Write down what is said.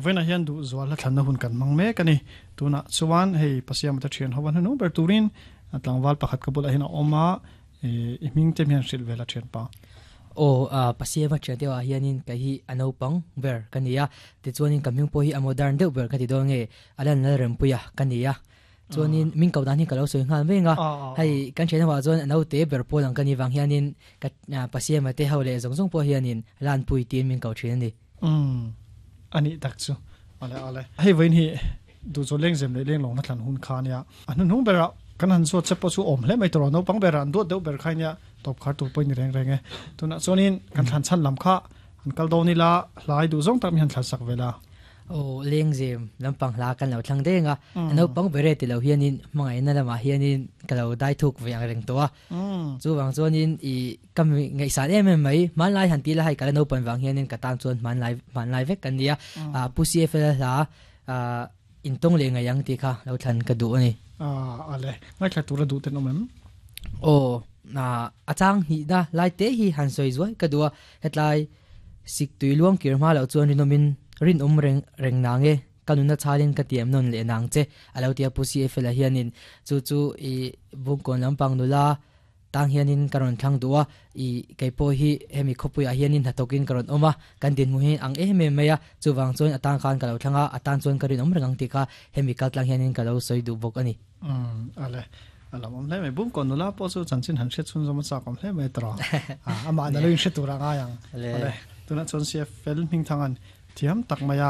Vawiinah hian duhzual hla thlanna hun kan hmang mek a ni. Tunah chuan hei Pasiama te thian ho a hnuhnung ber turin tlangval pakhat ka bulah hian a awm a, i hming te hian hrilh vel a thianpa. Aw, Pasiama thian deuhah hianin kei hi a naupang ber ka ni a, tichuanin ka hming pawh hi a modern deuh ber ka ti dawn nge, a lan Lalrempuia ka ni a. Chuanin min ko dan hi ka lo sawi nghal mai anga, hei kan thian ho ah chuan a naute ber pawl ang ka nih vang hianin ka Pasiama te ho leh zawng zawng pawh hianin Lanpui tiin min ko thin a ni. Umm a nih tak chu. Ale ale. Hei vawiin hi duhchaw lengzem leh lenglawng hna thlan hun kha ania. A hnuhnung berah kan han zawt che pawh chu awm hle mai tawh naupang berah an duat deuh ber kha ania tawp khar tur pawh i ni reng reng e. Tunah chuanin kan thlan chhan lam kha han kal dawn ila hlai duh zawng tak mi han thlan sak vel a. Aw, lengzem lampang hla kan lo thlang deng a, a naupang ber e ti lo hianin hmangaihna lamah hianin ka lo dai thuk ve ang reng tawh a. Chuvang chuanin i ka ngaihsan em em mai, hmanlai han ti la hei ka la naupan vang hianin ka tan chuan hmanlai hmanlai vek kan ni a, Pu CFL hla intawng leh ngaih ang tih kha lo thlan ka duh a ni. Ale, ngaithla tura duh ten awm em? Aw, a chang hnihna lai te hi han sawi zuai ka duh a, hetlai Sik tui luang kir hma loh chuan rinawmin rinawm reng reng nang e, ka nuna chhalin ka tiam nawn leh nang che, a lo ti a Pu CFL-a hianin chu chu i Bungkawn lampang nula tang hianin ka rawn thlang duh a, i kei pawh hi hemi khawpuiah hianin hnathawkin ka rawn awm a, kan dinhmun hi ang em em mai a, chuvang chuan a tang khan ka lo thlang a, a tan chuan ka rinawm reng ang tih kha hemi kaltlang hianin ka lo sawi duh bawk a ni. Umm ale a lo awm hle mai Bungkawn nula pawh chu chanchin han hriat chhunzawm a chak awm hle mai tawh a amah na lo in hre tur a ngai ang ale tunah chuan CFL Hmingthangan thiam tak mai a.